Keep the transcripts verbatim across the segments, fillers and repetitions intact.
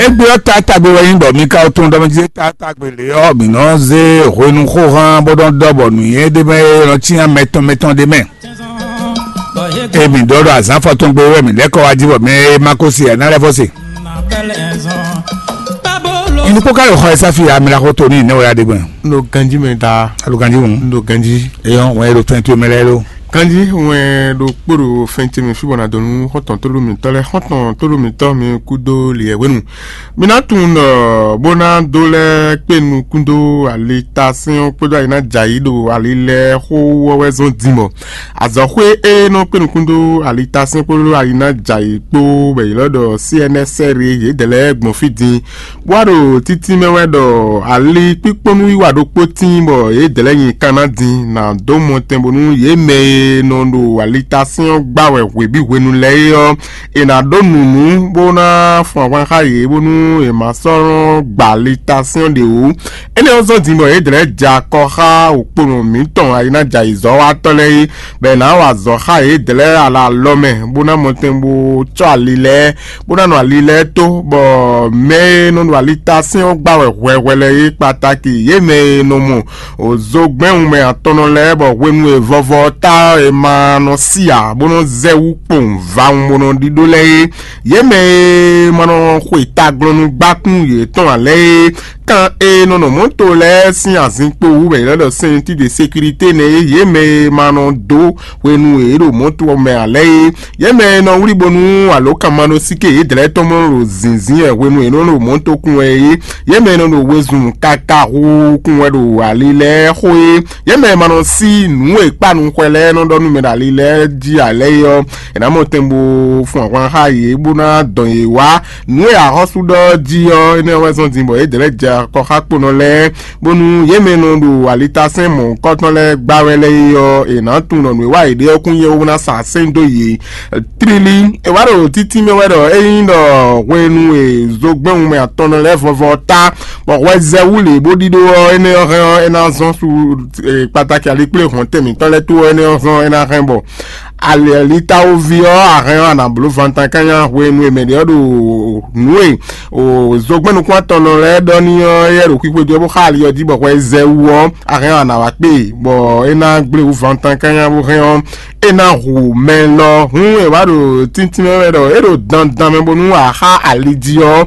Égbé ɔ́, taátagbe wɛ nyí ɖɔ mi ka tunwun ɖɔ mɛ jí taátagbe lě ɔ́, mǐ nɔ zé hwenu xóhán bó nɔ ɖɔ bɔ nǔnywɛ́ ɖé mɛ e nɔ cyán mɛtɔn mɛtɔn ɖé mɛ. Emi ɖɔ ɖɔ azǎn fɔtɔngbe wɛ mǐ lɛ́ kɔ wá jí bɔ mɛ e ma ko se ɛ ná lɛ́ fɔ se. Inukpó ka ɖo xɔ ɛ sáfi amla xó to ní ìnáwó ya ɖé gbɔn. N ɖo ganjí mɛ daa. Alo ganjí ŋu. N ɖo ganjí. Eyɔn wọn e ɖo twenty mɛ lɛ lo. Ganjí ŋwɛ ɖo kpóɖo fɛn ce mɛ fí bɔ ná dɔn nú xɔtɔn tóɖó mǐtɔn lɛ́ɛ, xɔtɔn tóɖó mǐtɔn mi kúdó liɛ hwenu. Mi ná tunwun ɖɔ bó ná dó lɛ́ kpé nukún dó ali ta sɛ́n ɔ́ kpódó ali ná jɛ ayǐ ɖo ali lɛ́ɛ xó wú ɔ́ wɛ zɔ́n din bɔ azɔ̌xwé e nɔ kpé nukún dó ali ta sɛ́n kpódó ali ná jɛ ayǐ kpó bɔ yě lɔ ɖɔ C N S R yědɛɛ lɛ́ɛ gbɔn fí din. Bó wá ɖo títí mɛ wɛ ɖɔ ali kpíkpɔ́nú wiwa ɖokpó tíin bɔ yědɛɛ lɛ́ɛ nyi kan ná din ná dó mɔtɛn bónú yě mɛ e nɔ ɖo ali ta sɛ́n ɔ́ gbá wɛ hwebǐ hwenu lɛ́ɛ é ɔ́, è nǎ ɖó nǔnú bó ná fun ahwan xá yě bónú è ma sɔ́ nɔ́ gba ali ta sɛ́n ɔ́ ɖě wú. Énɛ́ ɔ́ zɔ́n din bɔ yědɛɛ lɛ́ɛ jɛ akɔ xá òkponɔ mǐtɔn ayǐnájɛ ayǐzɔ́watɔ́ lɛ́ɛ é, bɔ è nǎ wa azɔ̌ xá yědɛɛ lɛ́ɛ alɔ alɔ mɛ bó ná mɔtɛn bó cɔ́ ali lɛ́ɛ bó ná nɔ ali lɛ́ɛ tó, bɔ mɛ e nɔ ɖo ali ta sɛ́n ɔ́ gbá wɛ hwɛhwɛ lɛ́ɛ é kpatáki yě mɛ e nɔ mɔ zogbɛ́n wunmɛ atɔnnɔ lɛ́ɛ bɔ hwenu e vɔvɔ ɔ́ ta ɔ́ è ma nɔ sí ǎ bó nɔ́ zɛ wú kpowun vawun bó nɔ́ ɖíɖó lɛ́ɛ é. Yě mɛ e ma nɔ xwe taglɔ́núgbákún yětɔn ǎ lɛ́ɛ é, kan e nɔ nɔ mɔ̌to lɛ́ɛ sín azinkpo wú wɛ è nɔ ɖɔ sɛntín de sécurité nɛ́ é, yě mɛ e ma nɔ dó hwenu e é ɖo mɔ̌to ɔ́ mɛ ǎ lɛ́ɛ é. Yě mɛ e nɔ wlí bónú alǒkanmaɖósíké yědɛɛ tɔn mɔ ɖo zǐnzín wɛ hwenu e é nɔ ɖo mɔ̌to kún wɛ é. Yě mɛ e nɔ ɖo wezun káká hu kún wɛ ɖo ali lɛ́ɛ xo é. Yě mɛ e ma nɔ sí nǔ e kpá nukɔn lɛ́ɛ nɔ ɖɔ nú mɛ ɖo ali lɛ́ɛ jí ǎ lɛ́ɛ é ɔ́, è nǎ mɔ tɛn bó fun ahwan xá yě bó ná dɔn yě wá. Nǔ e axɔ́sú ɖɔ jí ɔ́, énɛ́ wɛ zɔ́n din bɔ yě dlɛ̌ jɛ akɔxákponɔ lɛ́ɛ, bónú yě mɛ e nɔ ɖo alitasɛ́n mɔ̌hunkɔtɔn lɛ́ɛ gbá wɛ lɛ́ɛ é ɔ́, è nǎ tunwun ɖɔ nǔ e wa yě ɖe ɔ́ kún nyí éwu ná sa sɛ́n dó yě. Tlílí, è wǎ ɖo títí mɛ wɛ ɖɔ ényí ɖɔ hwenu e zogbɛ́n wunmɛ atɔnnɔ lɛ́ɛ vɔvɔ ɔ́ ta, bɔ hwɛ zɛ wú lě bó ɖíɖó ɔ́, énɛ́ ɔ́ hɛn ɔ́, é ná zɔ́n su kpatáki alikplé hɔn tɛn mǐtɔn lɛ́ɛ tó ɔ́, énɛ́ ɔ́ zɔ́n é ná hɛn bɔ alɛlitawoví ɔ́, a hɛn ɔ́, a nǎ bló vantan kányá hwenu e mɛ ɖě ɔ́ ɖo nǔ e zogbɛ́n nukúntɔ́nnɔ lɛ́ɛ ɖɔ n'i ɔ́, éyɛ́ ɖo xwixwe jí ɔ́ bó xá ali ɔ́ jí bɔ hwɛ zɛ wú ɔ́, a hɛn ɔ́, a nǎ wá kpé e, bɔ é ná gblé wú vantan kányá bó hɛn ɔ́, é ná hu mɛ lɔ. Hǔn è wǎ ɖo tíntín mɛ wɛ ɖɔ é ɖo dandan mɛ bónú a xá ali jí ɔ́,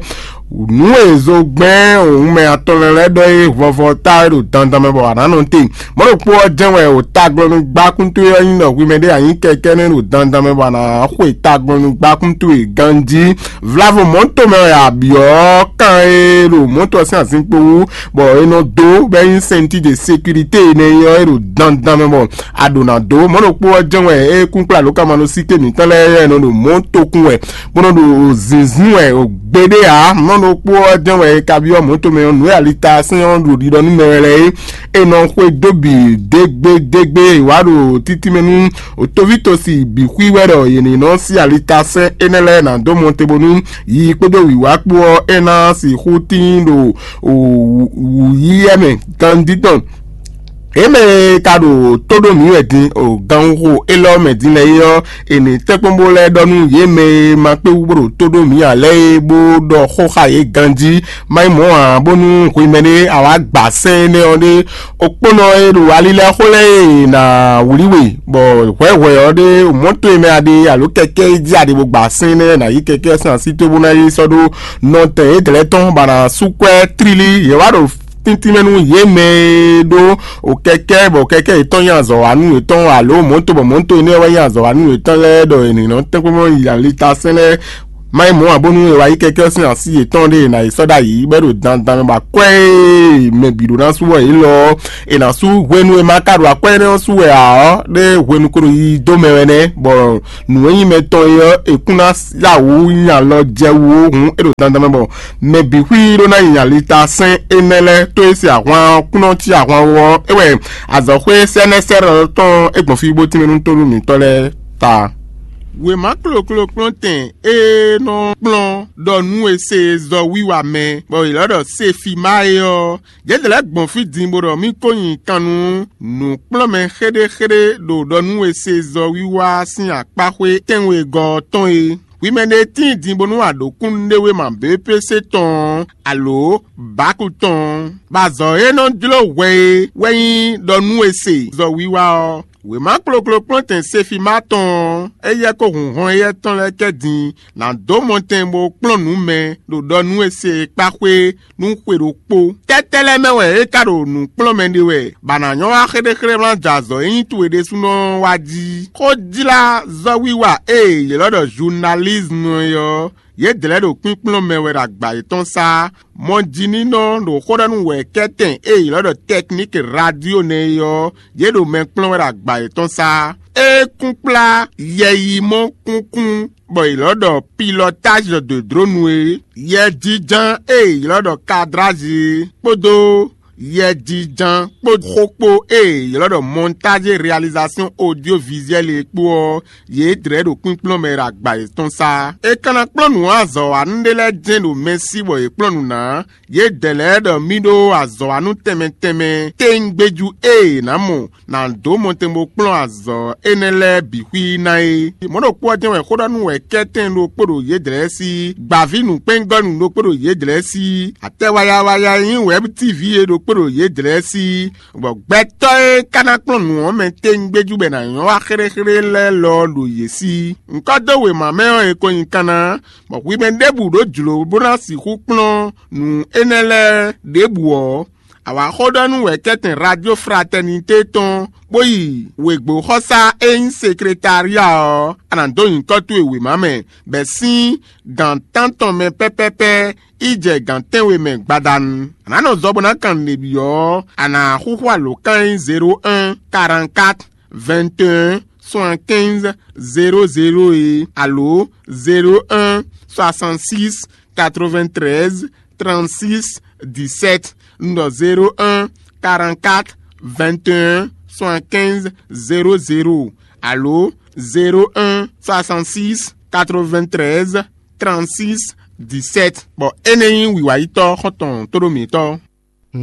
nǔ e zogbɛ́n òun mɛ atɔn lɛ́ɛ lɛ́ɛ ɖɔ é vɔvɔ ta é ɖo dandan mɛ bɔ a nǎ nɔ te. Mɔ̌ ɖokpó ɔ́ jɛ́n wɛ o taglɔ́núgbákún towe ɔ́ nyí ɖɔ hwi mɛ ɖé a nyǐ kɛkɛ́nɛ́ ɖo dandan mɛ bɔ a nǎ xwe taglɔ́núgbákún towe ganjí. Vlavo mɔ̌ tomɛ wɛ a byɔ̌ kan e ɖo mɔ̌ tɔn sín azinkpo wú, bɔ è nɔ dó bɔ é nyí sɛnti de sécurité énɛ́ ɔ́ é ɖo dandan mɛ bɔ a ɖǒ ná dó. Mɔ̌ ɖokpó ɔ́ jɛ́n wɛ é kún kplá lǒkamanɔsíké mǐtɔn lɛ́ɛ é nɔ ɖo mɔ̌ tokún wɛ bó nɔ ɖo zǐnzín wɛ gbeɖé ǎ. Mɔ̌ ɖokpó ɔ́ jɛ́n wɛ é ka byɔ́ mɔ̌ tomɛ ɔ́ nǔ e alita sɛ́n ɔ́ ɖo ɖiɖɔ nú mɛ wɛ lɛ́ɛ é. È nɔ xwedó bǐ dégbédégbé wá ɖo títí mɛ nú tovítɔ́si bǐ xwí wɛ ɖɔ yě ní nɔ sí alita sɛ́n énɛ́ lɛ́ɛ ná dó mɔ te bónú yiyi kpódó wǐwá kpó ɔ́, é ná sixú tíin ɖo wǔyíyɛ́ mɛ ganjí tɔn. Yě mɛ e ka ɖo tó ɖó mǐ wɛ din o ganxixo élɔ́ mɛ din lɛ́ɛ é ɔ́, è nǐ tɛ́nkpɔ́n bó lɛ́ ɖɔ nú yě mɛ e ma kpé wú bó ɖo tó ɖó mǐ ǎ lɛ́ɛ é bó ɖɔ xó xá yě ganjí. Má nyí mɔ̌ ǎ, bónú hwemɛ ɖé a wǎ gba sɛ́n énɛ́ ɔ́ ɖé, okpónɔ e ɖo ali lɛ́ɛ xó lɛ́ɛ e è nǎ wlí we, bɔ hwɛ̌hwɛ ɔ́ ɖé mɔ̌ towe mɛ a ɖe alo kɛkɛ́ e jí a ɖe bó gba sɛ́n énɛ́ ná yí kɛkɛ́ sín así towe bó ná yi sɔ́ ɖó nɔtɛn yědɛɛ tɔn bɔ a nǎ sú kwɛ́ tlílí. Yě wá ɖo tíntín mɛ nú yě mɛ e ɖó o kɛkɛ́ bɔ kɛkɛ́ yětɔn nyí azɔ̌wanú yětɔn alo mɔ̌to bɔ mɔ̌to énɛ́ wɛ nyí azɔ̌wanú yětɔn lɛ́ɛ ɖɔ è nǐ nɔ tɛ́nkpɔ́n yi alitasɛn lɛ́ɛ. Má nyí mɔ̌ ǎ bónú è wá yí kɛkɛ́ sín así yětɔn ɖé è nǎ yi sɔ́ ɖ'ayǐ bɔ é ɖo dandan mɛ bɔ akwɛ́ e mɛ bǐ ɖó ná sú wɛ yě lɔ ɔ́, è nǎ sú hwenu e ma ka ɖo akwɛ́ énɛ́ ɔ́ sú wɛ ǎ ɔ́, ɖé hwenu ko ɖo yiyi dó mɛ wɛ nɛ́, bɔ nǔ e nyí mɛ tɔn é ɔ́, è kún ná yá wǔ nyi alɔ jɛ wú ó hǔn é ɖo dandan mɛ bɔ mɛ bǐ xwí ɖó ná nyi alita sɛ́n énɛ́ lɛ́ɛ tó é se ahwan ɔ́ kún nɔ cí ahwan wú ɔ́, é wɛ azɔ̌xwé sɛ́nɛ́sɛ́nɔ tɔn é gbɔn fí bó tínmɛ nú tónú mǐtɔn lɛ́ɛ ta. Wěma kloklo kplɔ́ntɛn e nɔ kplɔ́n ɖɔ nú e se zɔ wiwa mɛ, bɔ è lɔ́ ɖɔ Sefima é ɔ́, yědɛɛ lɛ́ɛ gbɔn fí din bó ɖɔ mì ko nyi kan nú nǔkplɔ́nmɛ xéɖéxéɖé ɖo ɖɔ nú e se zɔ wiwa sín akpáxwé tɛ́nwegɔ́ ɔ́ tɔn é. Hwi mɛ ɖe tíin din bónú a ɖǒ kúnnuɖewéma B P C tɔn ɔ́, alo bǎku tɔn ɔ́, bɔ azɔ̌ e nɔ jló hwɛ é wɛ nyí ɖɔ nú è se zɔ wiwa ɔ́. Wěma kplokplo kplɔ́ntɛn Sefima tɔn ɔ́, éyɛ́ kó hun hɔn éyɛ́ tɔn lɛ́ɛ kɛ din ná dó mɔtɛn bó kplɔ́n nǔ mɛ ɖo ɖɔ nú è se e kpá xwé nú xwe ɖokpó. Tɛ́tɛ́ lɛ́ɛ mɛ wɛ é ka ɖo nǔ kplɔ́n mɛ ɖe wɛ, bɔ a nǎ nyɔ́ wá xéɖéxéɖé wlán jɛ azɔ̌ e nyí towe ɖésúnɔ ɔ́ wá jí? Xójlázɔ́wiwa e è ylɔ́ ɖɔ journalisme é ɔ́, yědɛɛ lɛ́ɛ ɖo kpínkplɔ́n mɛ wɛ ɖo agba yětɔn sá. Mɔjínínɔ ɖo xó ɖɔ nú wɛ̌kɛ́tɛn e è ylɔ́ ɖɔ tɛkníki radio nɛ́ é ɔ́, yě ɖo mɛ kplɔ́n wɛ ɖo agba yětɔn sá. É kún kplá yɛyimɔ kúnkún bɔ è ylɔ́ ɖɔ pilotage de drone é, yɛjínjɔ́n e è ylɔ́ ɖɔ cadrage é, kpódó yɛjínjɔ́n kpó xó kpó e è ylɔ́ ɖɔ montage réalisation audiovisuelle é kpó ɔ́, yě dlɛ̌ ɖo kpínkplɔ́n mɛ ɖo agba yětɔn sá. È ka ná kplɔ́n nǔ azɔ̌wanú ɖé lɛ́ɛ jɛ́n ɖo mɛ sí bɔ yě kplɔ́n nǔ ná. Yědɛɛ lɛ́ɛ ɖɔ mì ɖó azɔ̌wanú tɛnmɛ tɛnmɛ téŋgbéjú e è nǎ mɔ ná dó mɔtɛn bó kplɔ́n azɔ̌ énɛ́ lɛ́ɛ bǐ xwí ná é. Mɔ̌ ɖokpó ɔ́ jɛ́n wɛ xó ɖɔ nú wɛ̌kɛ́tɛn ɖokpó ɖo yědɛɛ sí, gbǎví nǔkpɛ́ngɔ́nú ɖokpó ɖo yědɛɛ sí, atɛwayawaya e nyí wɛ̌b T V é ɖokpó ɖo yědɛɛ sí, bɔ gbɛtɔ́ e ka ná kplɔ́n nǔ ɔ́ mɛ téŋgbéjú bɔ è nǎ nyɔ́ wá xéɖéxéɖé lɛ́ɛ lɔ ɖo yě sí. Ŋkɔ́ dó wěma mɛ ɔ́, è ko nyi kanna, bɔ hwi mɛ ɖěbǔ ɖó jlǒ bó ná sixú kplɔ́n nǔ énɛ́ lɛ́ɛ ɖěbǔ ɔ́, a wǎ xó ɖɔ nú wɛ̌kɛ́tɛn Radio Fraternité tɔn, bó yi wěgbóxɔsá e nyí sekretária ɔ́, a nǎ dó nyǐkɔ towe wěma mɛ, bɔ è sín gǎn tántɔn mɛ pɛ́pɛ́pɛ́ yi jɛ gǎn tɛ́nwe mɛ gbadanu. A nǎ nɔ zɔ bó ná kan nǔɖé byɔ́ ɔ́, a nǎ xúxú alǒkan e nyí zéro un, quarante-quatre, vingt et un, soixante-quinze, zéro zéro é, alo zéro un, soixante-six, quatre-vingt-treize, trente-six, dix-sept. Un ɖɔ zéro un, quarante-quatre, vingt et un, soixante-quinze, zéro zéro, alo zéro un, soixante-six, quatre-vingt-treize, trente-six, dix-sept. Bɔ énɛ́ nyí wǐwáyítɔ́ xɔ́ntɔn tóɖó mǐtɔn.